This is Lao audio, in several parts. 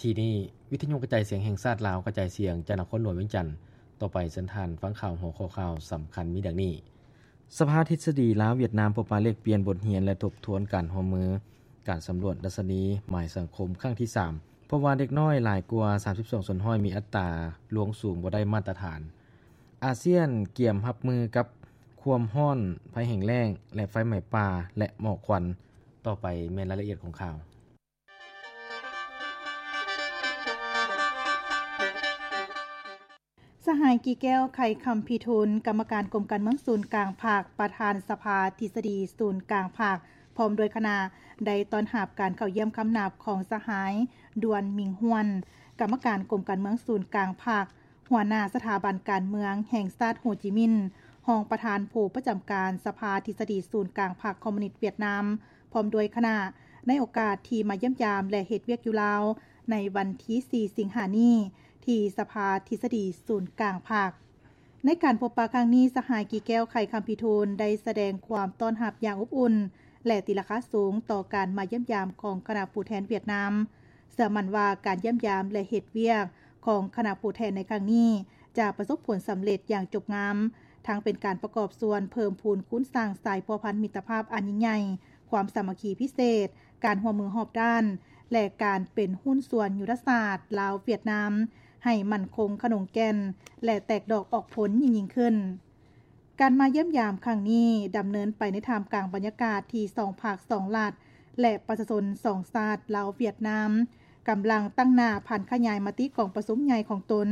ທີ່ນີ້ ວິທະຍຸກະຈາຍສຽງແຫ່ງຊາດລາວ ກະຈາຍສຽງຈາກນະຄອນຫຼວງວຽງຈັນ. ຕໍ່ໄປເຊີນທ່ານຟັງຂ່າວ ຫົວຂໍ້ຂ່າວສຳຄັນມີດັ່ງນີ້: ສະພາທິດສະດີລາວ-ຫວຽດນາມ ພົບປະແລກປ່ຽນບົດຮຽນ ແລະ ທົບທວນການຮ່ວມມື. ການສຳຫຼວດດັດຊະນີໝາຍສັງຄົມຄັ້ງທີສາມ ພົບວ່າເດັກນ້ອຍຫຼາຍກວ່າສາມສິບສອງສ່ວນຮ້ອຍ ມີອັດຕາລ່ວງສູງບໍ່ໄດ້ມາດຕະຖານ. ອາຊຽນກຽມຮັບມືກັບຄວາມຮ້ອນ, ໄພແຫ້ງແລ້ງ ແລະ ໄຟໄໝ້ປ່າ ແລະ ໝອກຄວັນ. ຕໍ່ໄປແມ່ນລາຍລະອຽດຂອງຂ່າວ. ສະຫາຍ ກີແກ້ວ ໄຂຄຳພິທູນ ກຳມະການກົມການເມືອງສູນກາງພັກ, ປະທານສະພາທິດສະດີສູນກາງພັກ ພ້ອມດ້ວຍຄະນະ ໄດ້ຕ້ອນຮັບການເຂົ້າຢ້ຽມຄຳນັບຂອງສະຫາຍ ດວນ ມິງຮວນ ກຳມະການກົມການເມືອງສູນກາງພັກ, ຫົວໜ້າສະຖາບັນການເມືອງແຫ່ງຊາດໂຮຈິມິນ, ຮອງປະທານຜູ້ປະຈຳການສະພາທິດສະດີສູນກາງພັກຄອມມູນິດຫວຽດນາມ ພ້ອມດ້ວຍຄະນະ ໃນໂອກາດທີ່ມາຢ້ຽມຢາມ ແລະ ເຮັດວຽກຢູ່ລາວ ໃນວັນທີສີ່ ສິງຫານີ້ ທີ່ສະພາທິດສະດີສູນກາງພັກ. ໃນການພົບປະຄັ້ງນີ້, ສະຫາຍ ກີແກ້ວ ໄຂຄຳພິທູນ ໄດ້ສະແດງຄວາມຕ້ອນຮັບຢ່າງອົບອຸ່ນ ແລະ ຕີລາຄາສູງຕໍ່ການມາຢ້ຽມຢາມຂອງຄະນະຜູ້ແທນຫວຽດນາມ. ເຊື່ອໝັ້ນວ່າການຢ້ຽມຢາມ ແລະ ເຮັດວຽກຂອງຄະນະຜູ້ແທນໃນຄັ້ງນີ້ ຈະປະສົບຜົນສຳເລັດຢ່າງຈົບງາມ, ທັງເປັນການປະກອບສ່ວນເພີ່ມພູນຄູນສ້າງສາຍພົວພັນມິດຕະພາບອັນຍິ່ງໃຫຍ່, ຄວາມສາມັກຄີພິເສດ, ການຮ່ວມມືຮອບດ້ານ ແລະ ການເປັນຫຸ້ນສ່ວນຍຸດທະສາດລາວ-ຫວຽດນາມ ໃຫ້ໝັ້ນຄົງຂະໜົງແກ່ນ ແລະ ແຕກດອກອອກຜົນຍິ່ງໆຂຶ້ນ. ການມາຢ້ຽມຢາມຄັ້ງນີ້ ດຳເນີນໄປໃນທ່າມກາງບັນຍາກາດທີ່ສອງພັກສອງລັດ ແລະ ປະຊາຊົນສອງຊາດ ລາວ-ຫວຽດນາມ ກຳລັງຕັ້ງໜ້າຜັນຂະຫຍາຍມະຕິກອງປະຊຸມໃຫຍ່ຂອງຕົນ.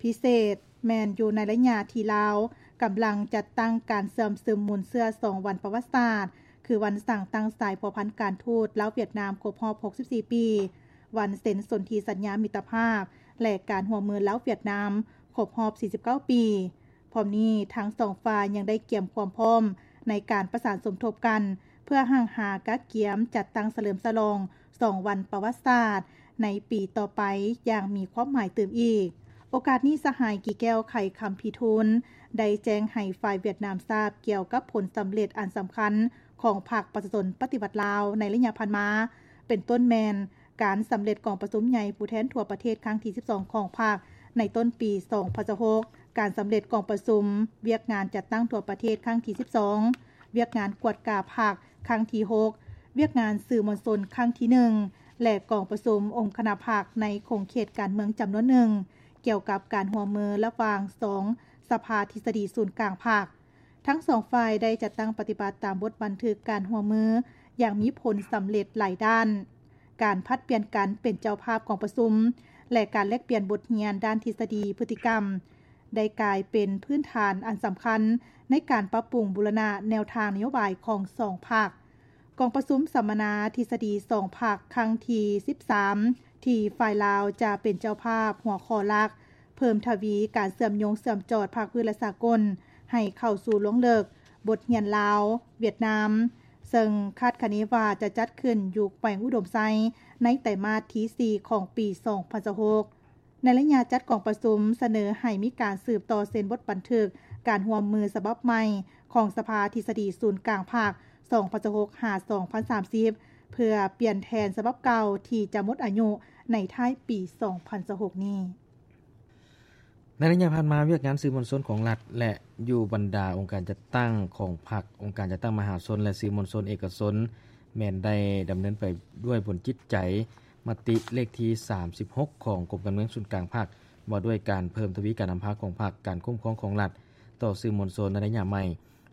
ພິເສດແມ່ນຢູ່ໃນໄລຍະທີ່ລາວກຳລັງຈັດຕັ້ງການເຊື່ອມຊຶມມູນເຊື້ອສອງວັນປະຫວັດສາດ ຄືວັນສ້າງຕັ້ງສາຍພົວພັນການທູດລາວ-ຫວຽດນາມຄົບຮອບຫົກສິບສີ່ປີ, ວັນເຊັນສົນທິສັນຍາມິດຕະພາບ ແລະ ການຮ່ວມມືລາວ-ຫວຽດນາມຄົບຮອບສີ່ສິບເກົ້າປີ. ພ້ອມນີ້, ທັງສອງຝ່າຍຍັງໄດ້ກຽມຄວາມພ້ອມໃນການປະສານສົມທົບກັນ ເພື່ອຮັ່ງຫາກະກຽມຈັດຕັ້ງສະເຫຼີມສະຫຼອງສອງວັນປະຫວັດສາດໃນປີຕໍ່ໄປຢ່າງມີຄວາມໝາຍຕື່ມອີກ. ໂອກາດນີ້, ສະຫາຍ ກີແກ້ວ ໄຂຄຳພິທູນ ໄດ້ແຈ້ງໃຫ້ຝ່າຍຫວຽດນາມຊາບກ່ຽວກັບຜົນສຳເລັດອັນສຳຄັນຂອງພັກປະຊາຊົນປະຕິວັດລາວໃນໄລຍະຜ່ານມາ, ເປັນຕົ້ນແມ່ນ ການສຳເລັດກອງປະຊຸມໃຫຍ່ຜູ້ແທນທົ່ວປະເທດຄັ້ງທີສິບສອງຂອງພັກໃນຕົ້ນປີສອງພັນຊາວຫົກ, ການສຳເລັດກອງປະຊຸມວຽກງານຈັດຕັ້ງທົ່ວປະເທດຄັ້ງທີສິບສອງ, ວຽກງານກວດກາພັກຄັ້ງທີຫົກ, ວຽກງານສື່ມວນຊົນຄັ້ງທີໜຶ່ງ ແລະ ກອງປະຊຸມອົງຄະນະພັກໃນຂົງເຂດການເມືອງຈຳນວນໜຶ່ງ ກ່ຽວກັບການຮ່ວມມືລະຫວ່າງສອງສະພາທິດສະດີສູນກາງພັກ. ທັງສອງຝ່າຍໄດ້ຈັດຕັ້ງປະຕິບັດຕາມບົດບັນທຶກການຮ່ວມມືຢ່າງມີຜົນສຳເລັດຫຼາຍດ້ານ. ການຜັດປ່ຽນກັນເປັນເຈົ້າພາບກອງປະຊຸມ ແລະ ການແລກປ່ຽນບົດຮຽນດ້ານທິດສະດີພຶດຕິກຳ ໄດ້ກາຍເປັນພື້ນຖານອັນສຳຄັນໃນການປັບປຸງບູລະນະແນວທາງນະໂຍບາຍຂອງສອງພັກ. ກອງປະຊຸມສຳມະນາທິດສະດີສອງພັກຄັ້ງທີສິບສາມ ທີ່ຝ່າຍລາວຈະເປັນເຈົ້າພາບ, ຫົວຂໍ້ຫຼັກ ເພີ່ມທະວີການເຊື່ອມໂຍງເຊື່ອມຈອດພາກພື້ນ ແລະ ສາກົນ ໃຫ້ເຂົ້າສູ່ລວງເລິກບົດຮຽນລາວ-ຫວຽດນາມ, ເຊິ່ງຄາດຄະເນວ່າຈະຈັດຂຶ້ນຢູ່ແຂວງອຸດົມໄຊ ໃນໄຕມາດທີສີ່ຂອງປີສອງພັນຊາວຫົກ. ໃນໄລຍະຈັດກອງປະຊຸມ, ສະເໜີໃຫ້ມີການສືບຕໍ່ເຊັນບົດບັນທຶກການຮ່ວມມືສະບັບໃໝ່ຂອງສະພາທິດສະດີສູນກາງພັກ ສອງພັນຊາວຫົກ ຫາ ສອງພັນສາມສິບ ເພື່ອປ່ຽນແທນສະບັບເກົ່າທີ່ຈະໝົດອາຍຸໃນທ້າຍປີສອງພັນຊາວຫົກນີ້. ໃນໄລຍະຜ່ານມາ, ວຽກງານສື່ມວນຊົນຂອງລັດ ແລະ ຢູ່ບັນດາອົງການຈັດຕັ້ງຂອງພັກ, ອົງການຈັດຕັ້ງມະຫາຊົນ ແລະ ສື່ມວນຊົນເອກະຊົນ ແມ່ນໄດ້ດຳເນີນໄປດ້ວຍບົນຈິດໃຈ ມະຕິເລກທີສາມສິບຫົກຂອງກົມການເມືອງສູນກາງພັກ ວ່າດ້ວຍການເພີ່ມທະວີການນຳພາຂອງພັກ, ການຄຸ້ມຄອງຂອງລັດຕໍ່ສື່ມວນຊົນໃນໄລຍະໃໝ່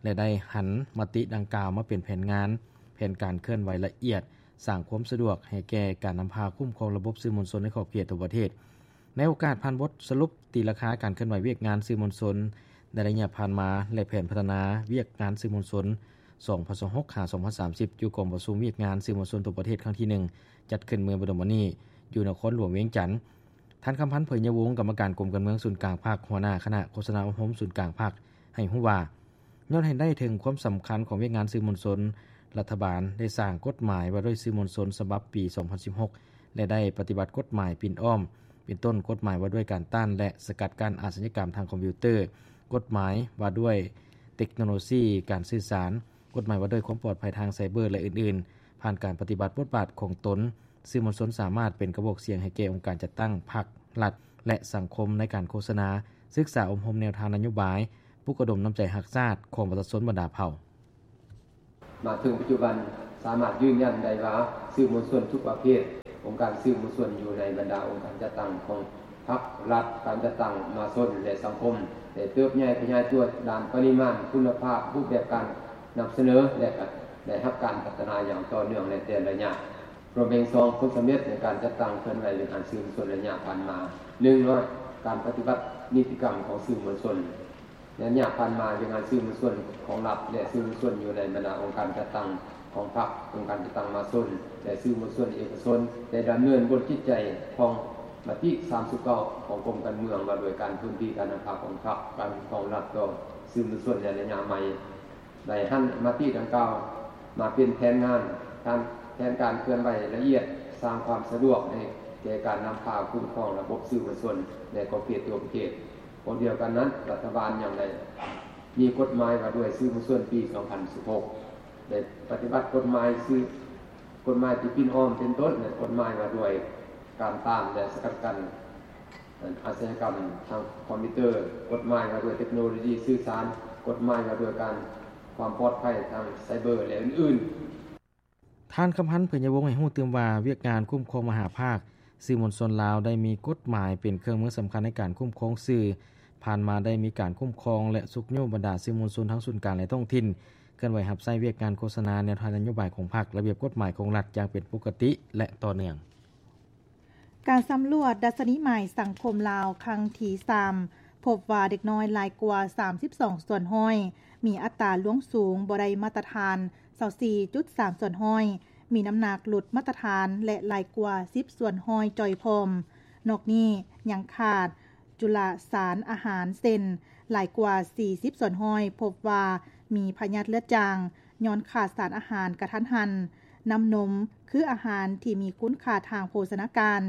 ແລະ ໄດ້ຫັນມະຕິດັ່ງກ່າວມາເປັນແຜນງານ, ແຜນການເຄື່ອນໄຫວລະອຽດ, ສ້າງຄວາມສະດວກໃຫ້ແກ່ການນຳພາຄຸ້ມຄອງລະບົບສື່ມວນຊົນໃນຂອບເຂດທົ່ວປະເທດ. ໃນໂອກາດຜ່ານບົດສະຫຼຸບຕີລາຄາການເຄື່ອນໄຫວວຽກງານສື່ມວນຊົນ ໃນໄລຍະຜ່ານມາ ແລະ ແຜນພັດທະນາວຽກງານສື່ມວນຊົນ ສອງພັນຊາວຫົກ ຫາ ສອງພັນສາມສິບ ຢູ່ກອງປະຊຸມວຽກງານສື່ມວນຊົນທົ່ວປະເທດຄັ້ງທີໜຶ່ງ ຈັດຂຶ້ນເມື່ອບໍ່ດົນມານີ້ ຢູ່ນະຄອນຫຼວງວຽງຈັນ. ທ່ານ ຄຳພັນ ເຜີຍຍະວົງ ກຳມະການກົມການເມືອງສູນກາງພັກ, ຫົວໜ້າຄະນະໂຄສະນາອົບຮົມສູນກາງພັກ ໃຫ້ຮູ້ວ່າ ຍ້ອນເຫັນໄດ້ເຖິງຄວາມສຳຄັນຂອງວຽກງານສື່ມວນຊົນ, ລັດຖະບານໄດ້ສ້າງກົດໝາຍວ່າດ້ວຍສື່ມວນຊົນສະບັບປີສອງພັນສິບຫົກ ແລະ ໄດ້ປະຕິບັດກົດໝາຍປິ່ນອ້ອມ, ເປັນຕົ້ນ ກົດໝາຍວ່າດ້ວຍການຕ້ານ ແລະ ສະກັດກັ້ນອາຊະຍາກຳທາງຄອມພິວເຕີ, ກົດໝາຍວ່າດ້ວຍເຕັກໂນໂລຊີການສື່ສານ, ກົດໝາຍວ່າດ້ວຍຄວາມປອດໄພທາງໄຊເບີ ແລະ ອື່ນໆ, ຜ່ານການປະຕິບັດບົດບາດຂອງຕົນ ສື່ມວນຊົນສາມາດເປັນກະບອກສຽງໃຫ້ແກ່ອົງການຈັດຕັ້ງພັກ, ລັດ ແລະ ສັງຄົມໃນການໂຄສະນາ, ສຶກສາອົບຮົມແນວທາງນະໂຍບາຍ, ປຸກລະດົມນ້ຳໃຈຮັກຊາດຂອງປະຊາຊົນບັນດາເຜົ່າ. ມາເຖິງປັດຈຸບັນ ສາມາດຢືນຢັນໄດ້ວ່າ ສື່ມວນຊົນທຸກປະເພດ, ອົງການສື່ມວນຊົນຢູ່ໃນບັນດາອົງການຈັດຕັ້ງຂອງພັກ, ລັດ, ການຈັດຕັ້ງມະຫາຊົນ ແລະ ສັງຄົມ ໄດ້ເຕີບໃຫຍ່ຂະຫຍາຍຕົວດ້ານປະລິມານ, ຄຸນນະພາບ, ຮູບແບບການນຳສະເໜີ ແລະ ກະໄດ້ຮັບການພັດທະນາຢ່າງຕໍ່ເນື່ອງໃນແຕ່ລະໄລຍະ. ລວມເປັນສອງຜົນສຳເລັດໃນການຈັດຕັ້ງເຄື່ອນໄຫວວຽກງານສື່ມວນຊົນໄລຍະຜ່ານມາ. ໜຶ່ງ ການປະຕິບັດນິຕິກຳຂອງສື່ມວນຊົນ. ໃນໄລຍະຜ່ານມາ, ວຽກງານສື່ມວນຊົນຂອງລັດ ແລະ ສື່ມວນຊົນຢູ່ໃນບັນດາອົງການຈັດຕັ້ງຂອງພັກ, ອົງການຈັດຕັ້ງມະຫາຊົນ ແລະ ສື່ມວນຊົນເອກະຊົນ ໄດ້ດຳເນີນບົດວິໄຈຂອງມະຕິສາມສິບເກົ້າຂອງກົມການເມືອງ ວ່າດ້ວຍການພື້ນທີ່ການນຳພາຂອງພັກ, ການຄຸ້ມຄອງລັດຕໍ່ສື່ມວນຊົນໃນໄລຍະໃໝ່. ໄດ້ຫັນມະຕິດັ່ງກ່າວມາເປັນແຜນງານ, ການ, ແຜນການເຄື່ອນໄຫວລະອຽດ, ສ້າງຄວາມສະດວກໃຫ້ແກ່ການນຳພາຄຸ້ມຄອງລະບົບສື່ມວນຊົນໃນຂອບເຂດທົ່ວປະເທດ. ພ້ອມດຽວກັນນັ້ນ, ລັດຖະບານຍັງໄດ້ມີກົດໝາຍວ່າດ້ວຍສື່ມວນຊົນປີສອງພັນສິບຫົກ ໄດ້ປະຕິບັດກົດໝາຍສື່, ກົດໝາຍທີ່ປິ່ນອ້ອມເປັນຕົ້ນ, ແລະ ກົດໝາຍວ່າດ້ວຍການຕ້ານ ແລະ ສະກັດກັ້ນ ອາຊະຍາກຳທາງຄອມພິວເຕີ, ກົດໝາຍວ່າດ້ວຍເຕັກໂນໂລຊີສື່ສານ, ກົດໝາຍວ່າດ້ວຍການຄວາມປອດໄພທາງໄຊເບີ ແລະ ອື່ນໆ. ທ່ານ ຄຳພັນ ເຜີຍຍະວົງ ໃຫ້ຮູ້ຕື່ມວ່າ ວຽກງານຄຸ້ມຄອງມະຫາພາກສື່ມວນຊົນລາວ ໄດ້ມີກົດໝາຍເປັນເຄື່ອງມືສຳຄັນໃນການຄຸ້ມຄອງສື່. ຜ່ານມາໄດ້ມີການຄຸ້ມຄອງ ແລະ ຊຸກຍູ້ບັນດາສື່ມວນຊົນທັງສູນກາງ ແລະ ທ້ອງຖິ່ນ ເຄື່ອນໄຫວຮັບໃຊ້ວຽກງານໂຄສະນາແນວທາງນະໂຍບາຍຂອງພັກ, ລະບຽບກົດໝາຍຂອງລັດຢ່າງເປັນປົກກະຕິ ແລະ ຕໍ່ເນື່ອງ. ການສຳຫຼວດດັດຊະນີໝາຍສັງຄົມລາວຄັ້ງທີສາມ ພົບວ່າເດັກນ້ອຍຫຼາຍກວ່າສາມສິບສອງສ່ວນຮ້ອຍ, ມີອັດຕາລ່ວງສູງບໍ່ໄດ້ມາດຕະຖານຊາວສີ່ຈຸດສາມສ່ວນຮ້ອຍ, ມີນ້ຳໜັກຫຼຸດມາດຕະຖານ ແລະ ຫຼາຍກວ່າສິບສ່ວນຮ້ອຍຈ່ອຍພ້ອມ. ນອກນີ້ຍັງຂາດຈຸລະສານອາຫານ ເຊັ່ນ ຫຼາຍກວ່າສີ່ສິບສ່ວນຮ້ອຍ ພົບວ່າມີພະຍາດເລືອດຈາງ ຍ້ອນຂາດສານອາຫານກະທັນຫັນ. ນ້ຳນົມ ຄືອາຫານທີ່ມີຄຸນຄ່າທາງໂພຊະນາການ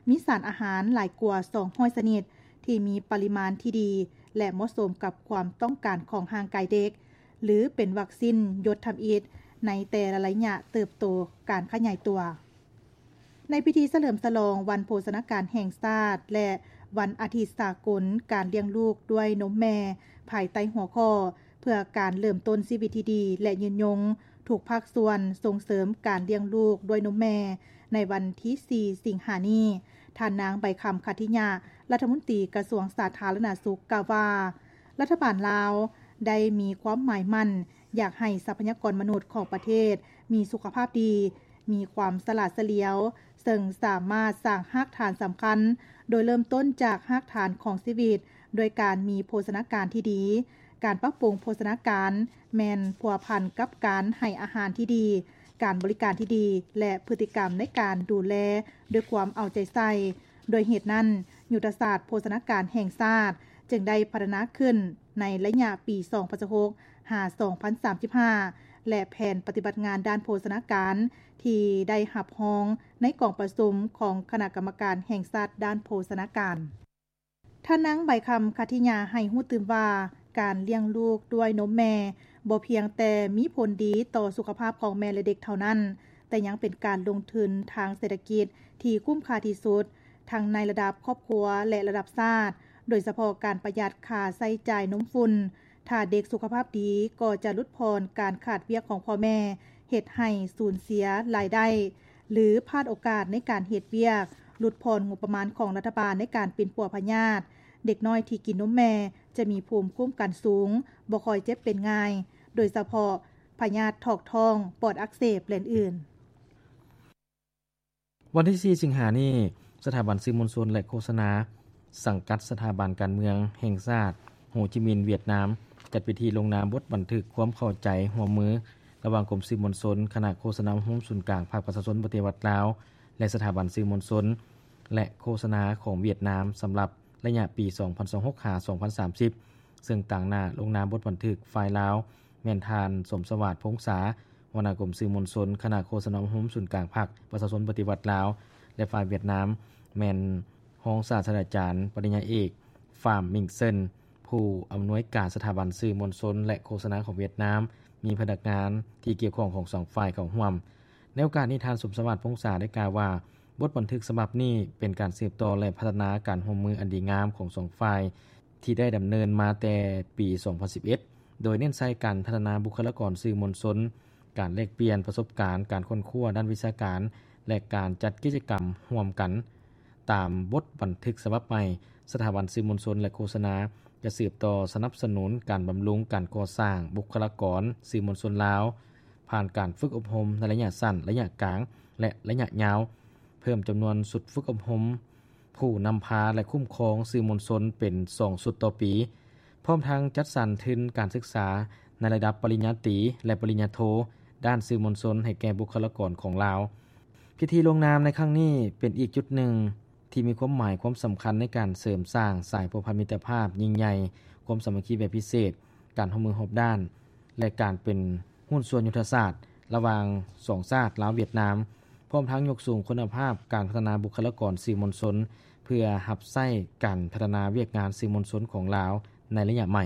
ມີສານອາຫານຫຼາຍກວ່າສອງຮ້ອຍຊະນິດ ທີ່ມີປະລິມານທີ່ດີ ແລະ ເໝາະສົມກັບຄວາມຕ້ອງການຂອງຮ່າງກາຍເດັກ ຫຼື ເປັນວັກຊິນຢົດທຳອິດໃນແຕ່ລະໄລຍະເຕີບໂຕການຂະຫຍາຍຕົວ. ໃນພິທີສະເຫຼີມສະຫຼອງວັນໂພຊະນາການແຫ່ງຊາດ ແລະ ວັນອາທິດສາກົນການລ້ຽງລູກດ້ວຍນົມແມ່ ພາຍໃຕ້ຫົວຂໍ້ ເພື່ອການເລີ່ມຕົ້ນຊີວິດທີ່ດີ ແລະ ຍືນຍົງ, ທຸກພາກສ່ວນສົ່ງເສີມການລ້ຽງລູກດ້ວຍນົມແມ່. ໃນວັນທີສີ່ ສິງຫານີ້, ທ່ານນາງ ໃບຄຳ ຂັດທິຍະ ລັດຖະມົນຕີກະຊວງສາທາລະນະສຸກ ກ່າວວ່າ ລັດຖະບານລາວໄດ້ມີຄວາມໝາຍໝັ້ນ ຢາກໃຫ້ຊັບພະຍາກອນມະນຸດຂອງປະເທດມີສຸຂະພາບດີ, ມີຄວາມສະຫຼາດສະຫຼຽວ, ເຊິ່ງສາມາດສ້າງຮາກຖານສຳຄັນ ໂດຍເລີ່ມຕົ້ນຈາກຮາກຖານຂອງຊີວິດ ດ້ວຍການມີໂພຊະນາການທີ່ດີ. ການປັບປຸງໂພຊະນາການແມ່ນພົວພັນກັບການໃຫ້ອາຫານທີ່ດີ, ການບໍລິການທີ່ດີ ແລະ ພຶດຕິກຳໃນການດູແລດ້ວຍຄວາມເອົາໃຈໃສ່. ດ້ວຍເຫດນັ້ນ, ຍຸດທະສາດໂພຊະນາການແຫ່ງຊາດຈຶ່ງໄດ້ພັດທະນາຂຶ້ນໃນໄລຍະປີສອງພັນຊາວຫົກ ຫາ ສອງພັນສາມສິບຫ້າ ແລະ ແຜນປະຕິບັດງານດ້ານໂພຊະນາການທີ່ໄດ້ຮັບຮອງໃນກອງປະຊຸມຂອງຄະນະກຳມະການແຫ່ງຊາດດ້ານໂພຊະນາການ. ທ່ານນາງ ໃບຄຳ ຂັດທິຍາ ໃຫ້ຮູ້ຕື່ມວ່າ ການລ້ຽງລູກດ້ວຍນົມແມ່ບໍ່ພຽງແຕ່ມີຜົນດີຕໍ່ສຸຂະພາບຂອງແມ່ ແລະ ເດັກເທົ່ານັ້ນ, ແຕ່ຍັງເປັນການລົງທຶນທາງເສດຖະກິດທີ່ຄຸ້ມຄ່າທີ່ສຸດ, ທັງໃນລະດັບຄອບຄົວ ແລະ ລະດັບຊາດ, ໂດຍສະເພາະການປະຢັດຄ່າໃຊ້ຈ່າຍນົມຝຸ່ນ. ຖ້າເດັກສຸຂະພາບດີກໍຈະຫຼຸດຜ່ອນການຂາດວຽກຂອງພໍ່ແມ່, ເຮັດໃຫ້ສູນເສຍລາຍໄດ້ ຫຼື ພາດໂອກາດໃນການເຮັດວຽກ, ຫຼຸດຜ່ອນງົບປະມານຂອງລັດຖະບານໃນການປິ່ນປົວພະຍາດ. ເດັກນ້ອຍທີ່ກິນນົມແມ່ຈະມີພູມຄຸ້ມກັນສູງ, ບໍ່ຄ່ອຍເຈັບເປັນງ່າຍ, ໂດຍສະເພາະພະຍາດຖອກທ້ອງ, ປອດອັກເສບ ແລະ ອື່ນໆ. ວັນທີສີ່ ສິງຫານີ້, ສະຖາບັນສື່ມວນຊົນ ແລະ ໂຄສະນາ ສັງກັດສະຖາບັນການເມືອງແຫ່ງຊາດ ໂຮຈິມິນ ຫວຽດນາມ ຈັດພິທີລົງນາມບົດບັນທຶກຄວາມເຂົ້າໃຈຮ່ວມມື ລະຫວ່າງກົມສື່ມວນຊົນ, ຄະນະໂຄສະນາອົບຮົມສູນກາງພັກປະຊາຊົນປະຕິວັດລາວ ແລະ ສະຖາບັນສື່ມວນຊົນ ແລະ ໂຄສະນາຂອງຫວຽດນາມ ສຳລັບໄລຍະປີສອງພັນຊາວຫົກ ຫາ ສອງພັນສາມສິບ ເຊິ່ງຕາງໜ້າລົງນາມບົດບັນທຶກຝ່າຍລາວ ແມ່ນທ່ານ ສົມສະຫວາດ ພົງສາ ຫົວໜ້າກົມສື່ມວນຊົນ ຄະນະໂຄສະນາອົບຮົມສູນກາງພັກປະຊາຊົນປະຕິວັດລາວ ແລະ ຝ່າຍຫວຽດນາມ ແມ່ນຮອງສາດສະດາຈານ ປະລິນຍາເອກ ຟາມ ມິງເຊິນ ຜູ້ອຳນວຍການສະຖາບັນສື່ມວນຊົນ ແລະ ໂຄສະນາຂອງຫວຽດນາມ, ມີພະນັກງານທີ່ກ່ຽວຂ້ອງຂອງສອງຝ່າຍເຂົ້າຮ່ວມ. ໃນໂອກາດນີ້ ທ່ານ ສົມສະຫວາດ ພົງສາ ໄດ້ກ່າວວ່າ ບົດບັນທຶກສະບັບນີ້ເປັນການສືບຕໍ່ ແລະ ພັດທະນາການຮ່ວມມືອັນດີງາມຂອງສອງຝ່າຍ ທີ່ໄດ້ດຳເນີນມາແຕ່ປີສອງພັນສິບເອັດ ໂດຍເນັ້ນໃສ່ການພັດທະນາບຸກຄະລາກອນສື່ມວນຊົນ, ການແລກປ່ຽນປະສົບການ, ການຄົ້ນຄວ້າດ້ານວິຊາການ ແລະ ການຈັດກິດຈະກຳຮ່ວມກັນ. ຕາມບົດບັນທຶກສະບັບໃໝ່, ສະຖາບັນສື່ມວນຊົນ ແລະ ໂຄສະນາ ຈະສືບຕໍ່ສະໜັບສະໜູນການບຳລຸງການກໍ່ສ້າງບຸກຄະລາກອນສື່ມວນຊົນລາວ ຜ່ານການຝຶກອົບຮົມໃນໄລຍະສັ້ນ, ໄລຍະກາງ ແລະ ໄລຍະຍາວ, ເພີ່ມຈຳນວນຊຸດຝຶກອົບຮົມຜູ້ນຳພາ ແລະ ຄຸ້ມຄອງສື່ມວນຊົນເປັນສອງຊຸດຕໍ່ປີ, ພ້ອມທັງຈັດສັນທຶນການສຶກສາໃນລະດັບປະລິນຍາຕີ ແລະ ປະລິນຍາໂທ ດ້ານສື່ມວນຊົນໃຫ້ແກ່ບຸກຄະລາກອນຂອງລາວ. ພິທີລົງນາມໃນຄັ້ງນີ້ເປັນອີກຈຸດໜຶ່ງ ທີ່ມີຄວາມໝາຍຄວາມສຳຄັນໃນການເສີມສ້າງສາຍພົວພັນມິດຕະພາບຍິ່ງໃຫຍ່, ຄວາມສາມັກຄີແບບພິເສດ, ການຮ່ວມມືຮອບດ້ານ ແລະ ການເປັນຫຸ້ນສ່ວນຍຸດທະສາດລະຫວ່າງສອງຊາດລາວ-ຫວຽດນາມ, ພ້ອມທັງຍົກສູງຄຸນນະພາບການພັດທະນາບຸກຄະລາກອນສື່ມວນຊົນ ເພື່ອຮັບໃຊ້ການພັດທະນາວຽກງານສື່ມວນຊົນຂອງລາວໃນໄລຍະໃໝ່.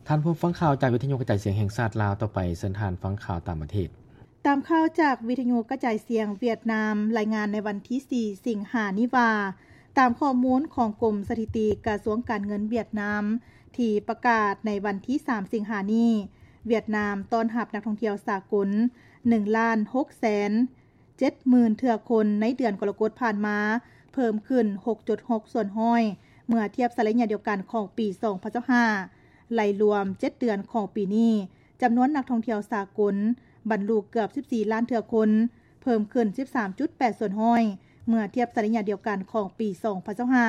ທ່ານຜູ້ຟັງຂ່າວຈາກວິທະຍຸກະຈາຍສຽງແຫ່ງຊາດລາວ, ຕໍ່ໄປເຊີນທ່ານຟັງຂ່າວຕ່າງປະເທດ. ຕາມຂ່າວຈາກວິທະຍຸກະຈາຍສຽງຫວຽດນາມ ລາຍງານໃນວັນທີສີ່ ສິງຫານີ້ວ່າ, ຕາມຂໍ້ມູນຂອງກົມສະຖິຕິກະຊວງການເງິນຫວຽດນາມ ທີ່ປະກາດໃນວັນທີສາມ ສິງຫານີ້, ຫວຽດນາມຕ້ອນຮັບນັກທ່ອງທ່ຽວສາກົນ ໜຶ່ງລ້ານຫົກແສນ ເຈັດໝື່ນເທື່ອຄົນໃນເດືອນກໍລະກົດຜ່ານມາ ເພີ່ມຂຶ້ນ ຫົກຈຸດຫົກສ່ວນຮ້ອຍ ເມື່ອທຽບໃສ່ໄລຍະດຽວກັນຂອງປີສອງພັນຊາວຫ້າ. ໄລ່ລວມເຈັດເດືອນຂອງປີນີ້, ຈຳນວນນັກທ່ອງທ່ຽວສາກົນບັນລຸເກືອບສິບສີ່ລ້ານເທື່ອຄົນ, ເພີ່ມຂຶ້ນສິບສາມຈຸດແປດສ່ວນຮ້ອຍ ເມື່ອທຽບໃສ່ໄລຍະດຽວກັນຂອງປີສອງພັນຊາວຫ້າ.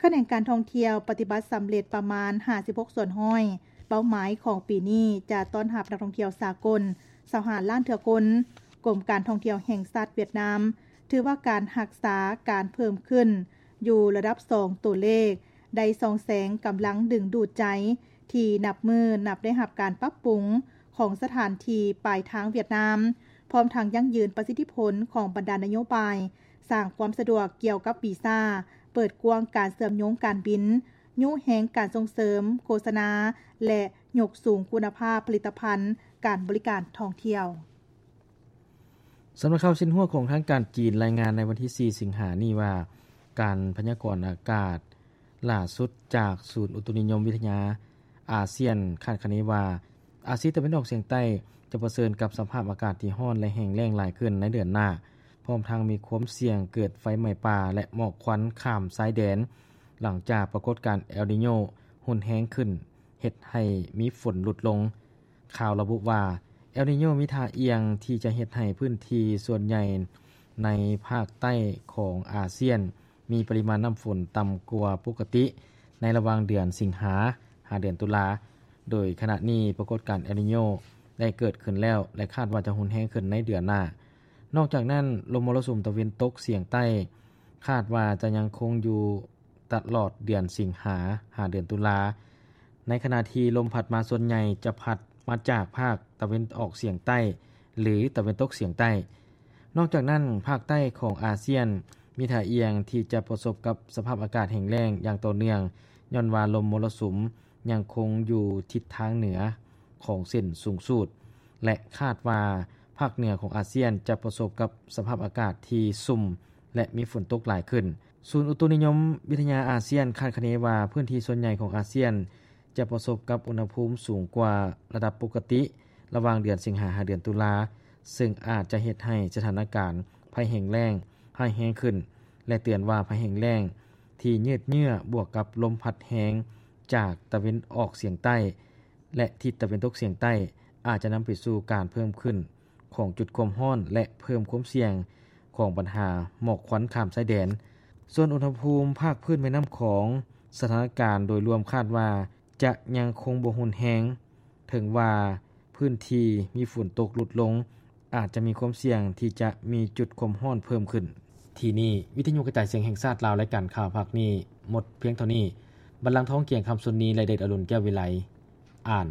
ຂະແໜງການທ່ອງທ່ຽວປະຕິບັດສຳເລັດປະມານຫ້າສິບຫົກສ່ວນຮ້ອຍ. ເປົ້າໝາຍຂອງປີນີ້ຈະຕ້ອນຮັບນັກທ່ອງທ່ຽວສາກົນຊາວຫ້າລ້ານເທື່ອຄົນ. ກົມການທ່ອງທ່ຽວແຫ່ງຊາດຫວຽດນາມ ຖືວ່າການຮັກສາການເພີ່ມຂຶ້ນຢູ່ລະດັບສອງຕົວເລກ ໄດ້ສ່ອງແສງກຳລັງດຶງດູດໃຈ ທີ່ນັບມື້ນັບໄດ້ຮັບການປັບປຸງຂອງສະຖານທີ່ປາຍທາງຫວຽດນາມ, ພ້ອມທັງຢັ້ງຢືນປະສິດທິຜົນຂອງບັນດານະໂຍບາຍ ສ້າງຄວາມສະດວກກ່ຽວກັບວີຊາ, ເປີດກວ້າງການເຊື່ອມໂຍງການບິນ, ຍຸແຮງການສົ່ງເສີມໂຄສະນາ ແລະ ຍົກສູງຄຸນນະພາບຜະລິດຕະພັນການບໍລິການທ່ອງທ່ຽວ. ສຳນັກຂ່າວຊິນຫົວຂອງທາງການຈີນລາຍງານໃນວັນທີສີ່ ສິງຫານີ້ວ່າ, ການພະຍາກອນອາກາດ ຫຼ້າສຸດຈາກສູນອຸຕຸນິຍົມວິທະຍາອາຊຽນຄາດຄະເນວ່າ ອາຊີຕາເວັນອອກສຽງໃຕ້ຈະປະເຊີນກັບສະພາບອາກາດທີ່ຮ້ອນ ແລະ ແຫ້ງແລ້ງຫຼາຍຂຶ້ນໃນເດືອນໜ້າ, ພ້ອມທັງມີຄວາມສ່ຽງເກີດໄຟໄໝ້ປ່າ ແລະ ໝອກຄວັນຂ້າມຊາຍແດນ, ຫຼັງຈາກປາກົດການແອລນີໂຍຮຸນແຮງຂຶ້ນ ເຮັດໃຫ້ມີຝົນຫຼຸດລົງ. ຂ່າວລະບຸວ່າ ແອລນີໂຍມີທ່າອ່ຽງທີ່ຈະເຮັດໃຫ້ພື້ນທີ່ສ່ວນໃຫຍ່ໃນພາກໃຕ້ຂອງອາຊຽນ ມີປະລິມານນ້ຳຝົນຕ່ຳກວ່າປົກກະຕິໃນລະຫວ່າງເດືອນສິງຫາ ຫາເດືອນຕຸລາ, ໂດຍຂະນະນີ້ປາກົດການແອລນີໂຍໄດ້ເກີດຂຶ້ນແລ້ວ ແລະ ຄາດວ່າຈະຮຸນແຮງຂຶ້ນໃນເດືອນໜ້າ. ນອກຈາກນັ້ນ, ລົມມໍລະສຸມຕາເວັນຕົກສຽງໃຕ້ ຄາດວ່າຈະຍັງຄົງຢູ່ຕະຫຼອດເດືອນສິງຫາ ຫາເດືອນຕຸລາ, ໃນຂະນະທີ່ລົມພັດມາສ່ວນໃຫຍ່ຈະພັດມາຈາກພາກຕາເວັນອອກສຽງໃຕ້ ຫຼື ຕາເວັນຕົກສຽງໃຕ້. ນອກຈາກນັ້ນ, ພາກໃຕ້ຂອງອາຊຽນມີທ່າອ່ຽງທີ່ຈະປະສົບກັບສະພາບອາກາດແຫ້ງແລ້ງຢ່າງຕໍ່ເນື່ອງ, ຍ້ອນວ່າລົມມໍລະສຸມຍັງຄົງຢູ່ທິດທາງເໜືອຂອງເສັ້ນສູງສູດ ແລະ ຄາດວ່າພາກເໜືອຂອງອາຊຽນຈະປະສົບກັບສະພາບອາກາດທີ່ຊຸ່ມ ແລະ ມີຝົນຕົກຫຼາຍຂຶ້ນ. ສູນອຸຕຸນິຍົມວິທະຍາອາຊຽນຄາດຄະເນວ່າ ພື້ນທີ່ສ່ວນໃຫຍ່ຂອງອາຊຽນ ຈະປະສົບກັບອຸນຫະພູມສູງກວ່າລະດັບປົກກະຕິ ລະຫວ່າງເດືອນສິງຫາ ຫາເດືອນຕຸລາ, ເຊິ່ງອາດຈະເຮັດໃຫ້ສະຖານະການໄພແຫ້ງແລ້ງຮ້າຍແຮງຂຶ້ນ ແລະ ເຕືອນວ່າໄພແຫ້ງແລ້ງທີ່ຍືດເຍື້ອບວກກັບລົມພັດແຮງຈາກຕາເວັນອອກສຽງໃຕ້ ແລະ ທິດຕາເວັນຕົກສຽງໃຕ້ ອາດຈະນຳໄປສູ່ການເພີ່ມຂຶ້ນຂອງຈຸດຄວາມຮ້ອນ ແລະ ເພີ່ມຄວາມສ່ຽງຂອງບັນຫາໝອກຄວັນຂ້າມຊາຍແດນ. ສ່ວນອຸນຫະພູມພາກພື້ນແມ່ນ້ຳຂອງ, ສະຖານະການໂດຍລວມຄາດວ່າ ຈະຍັງຄົງບໍ່ຮຸນແຮງ, ເຖິງວ່າພື້ນທີ່ມີຝົນຕົກຫຼຸດລົງ, ອາດຈະມີຄວາມສ່ຽງທີ່ຈະມີຈຸດຄວາມຮ້ອນເພີ່ມຂຶ້ນ. ທີ່ນີ້ ວິທະຍຸກະຈາຍສຽງແຫ່ງຊາດລາວ, ລາຍການຂ່າວພາກນີ້ໝົດພຽງເທົ່ານີ້. ບັນລັງທອງ ກຽງຄຳ ຊຸນນີ ແລະ ເດດອະລຸນ ແກ້ວວິໄລ ອ່ານ.